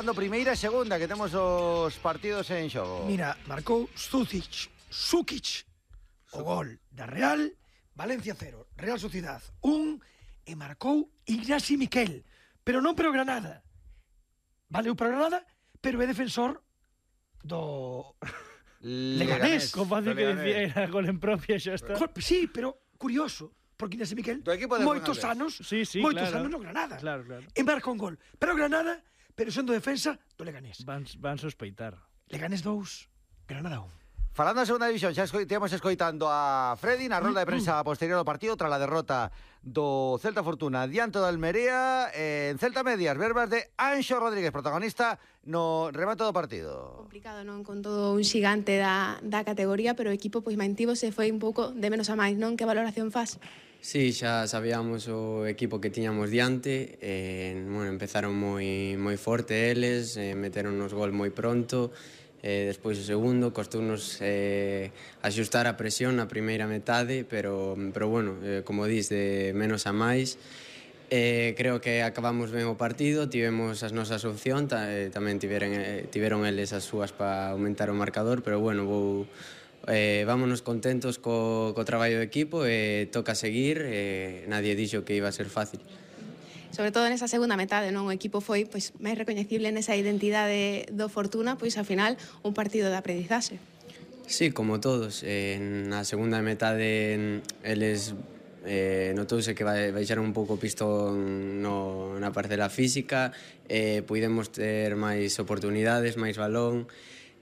Primeira e segunda, que temos os partidos en xogo. Mira, marcou Sukic o gol da Real, Valencia 0, Real Sociedad 1, e marcou Ignasi Miquel, pero non pero Granada. Valeu para Granada, pero é defensor do Leganés. Como fácil que decía, era gol en propia, xa está. Sí, pero curioso, porque Ignasi Miquel moitos anos no Granada. Claro. E marca un gol, pero Granada, pero sendo defensa do Leganés. Van sospeitar. Leganés 2, Granada 1. Falando da segunda división, xa temos escoitando a Freddy na rolda de prensa posterior ao partido tras a derrota do Celta Fortuna diante do Almería. En Celta Medias, verbas de Anxo Rodríguez, protagonista no remate do partido. Complicado, non? Con todo un xigante da categoría, pero o equipo pois mantívose, foi un pouco de menos a máis, non? Que valoración faz? Sí, xa sabíamos o equipo que tiñamos diante, empezaron moi forte eles, meteron nos gol moi pronto, despois o segundo, costounos axustar a presión na primeira metade, pero bueno, como dis, de menos a máis. Creo que acabamos ben o partido, tivemos as nosas opcións, tamén tiveron eles as súas para aumentar o marcador, pero bueno, vámonos contentos co traballo do equipo, toca seguir, nadie dixo que iba a ser fácil. Sobre todo nesa segunda metade, non? O equipo foi pois máis recoñecible nesa identidade do Fortuna, pois ao final un partido de aprendizaxe. Sí, como todos, na segunda metade eles notouse que baixaron un pouco o pistón na parcela física, puidemos ter máis oportunidades, máis balón,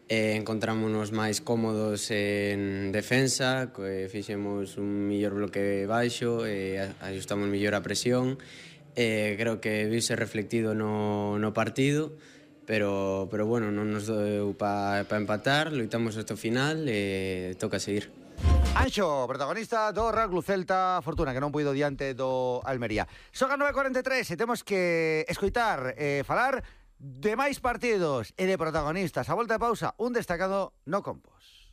encontrámonos máis cómodos en defensa, fixemos un mellor bloque baixo, ajustamos mellor a presión. Creo que viuse reflectido no partido, pero bueno, non nos deu para empatar, loitamos hasta o final e toca seguir. Anxo, protagonista do Real Club Celta Fortuna, que non puido diante do Almería. Son as 9:43 e temos que escoitar falar de máis partidos e de protagonistas. A volta de pausa, un destacado no Compos.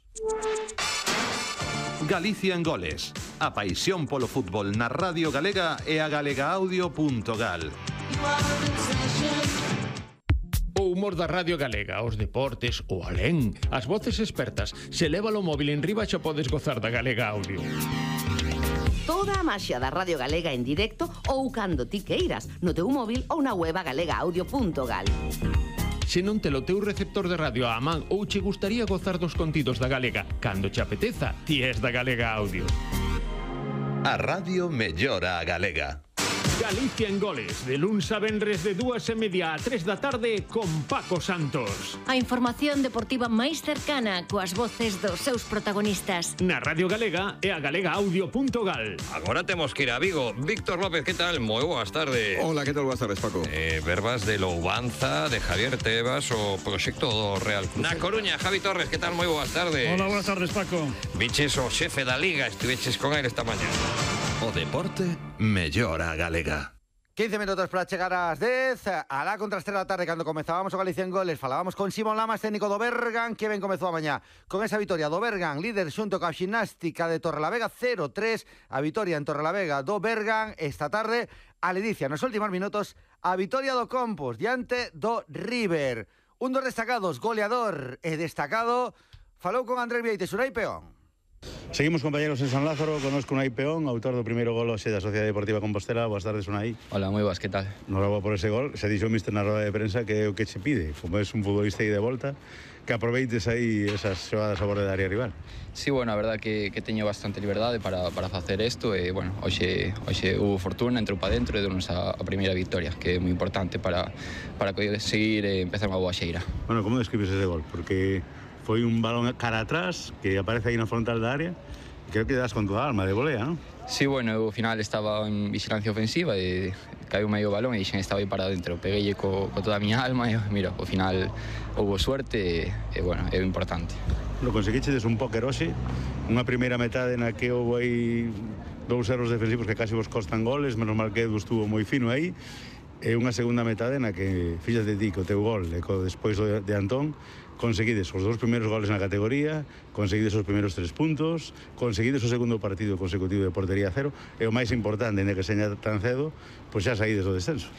Galicia en goles. A paixón polo fútbol na Radio Galega e a galegaaudio.gal. O humor da Radio Galega, os deportes, o alén, as voces expertas. Se leva o móvil en riba xa podes gozar da Galega Audio. Toda a maxia da Radio Galega en directo ou cando ti queiras, no teu móvil ou na web galegaaudio.gal. Se non te lo teu receptor de radio á man ou che gustaría gozar dos contidos da Galega, cando che apeteza, ti és da Galega Audio. A radio mellora a Galega. Galicia en goles, de luns a venres de 2:30 a 3 da tarde con Paco Santos. A información deportiva máis cercana coas voces dos seus protagonistas. Na Radio Galega e a galegaaudio.gal. Agora temos que ir a Vigo. Víctor López, que tal? Moi boas tardes. Hola, que tal? Boas tardes, Paco. Verbas de Loubanza, de Javier Tebas, o proxecto do Real Club. Na Coruña, Javi Torres, que tal? Moi boas tardes. Hola, boas tardes, Paco. Viches o xefe da Liga, estiveches con él esta mañá. O deporte mellora a Galega. 15 minutos para chegar ás 10. Alá contra as 3 da tarde, cando comezábamos o Galicia en goles, falábamos con Simón Lamas, técnico do Bergan, que ben comezou a mañá con esa vitoria do Bergan, líder xunto coa Ximnástica de Torrelavega, 0-3, a vitoria en Torrelavega do Bergan. Esta tarde, a ledicia nos últimos minutos, a vitoria do Compos diante do River. Un dos destacados, goleador e destacado, falou con Andrés Vieites, Unai Peón. Seguimos, compañeros, en San Lázaro. Conozco Unai Peón, autor do primeiro gol hoxe da Sociedade Deportiva Compostela. Boas tardes, Unai. Hola, moi boas, que tal? Enhorabuá por ese gol. Se dixo o míster na roda de prensa que é o que che pide, como es un futbolista aí de volta, que aproveites aí esas xogadas a borde da área rival. Sí, bueno, a verdad que teño bastante liberdade para facer isto e, bueno, hoxe hubo fortuna, entrou para dentro e deu-nos a primeira victoria, que é moi importante para seguir e empezar unha boa xeira. Bueno, como describes ese gol? Porque foi un balón cara atrás que aparece aí na frontal da área. Creo que das con toda a alma de volea, non? Sí, bueno, ao final estaba en vigilancia ofensiva e caiu medio balón e xa estaba aí para dentro. Pegueille co toda a miña alma e, mira, ao final houve suerte e bueno, é o importante. Lo conseguichedes un póker hoxe, unha primeira metade na que houve aí dous erros defensivos que casi vos costan goles, menos mal que Edu estuvo moi fino aí, e unha segunda metade na que, fíxate ti, co teu gol e despois de Antón, conseguides os dous primeiros goles na categoría, conseguides os primeiros 3 puntos, conseguides o segundo partido consecutivo de portería cero, e o máis importante, en que seña tan cedo, pois xa saídes do descenso.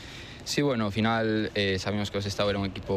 Sí, bueno, ao final sabemos que o Sestao era un equipo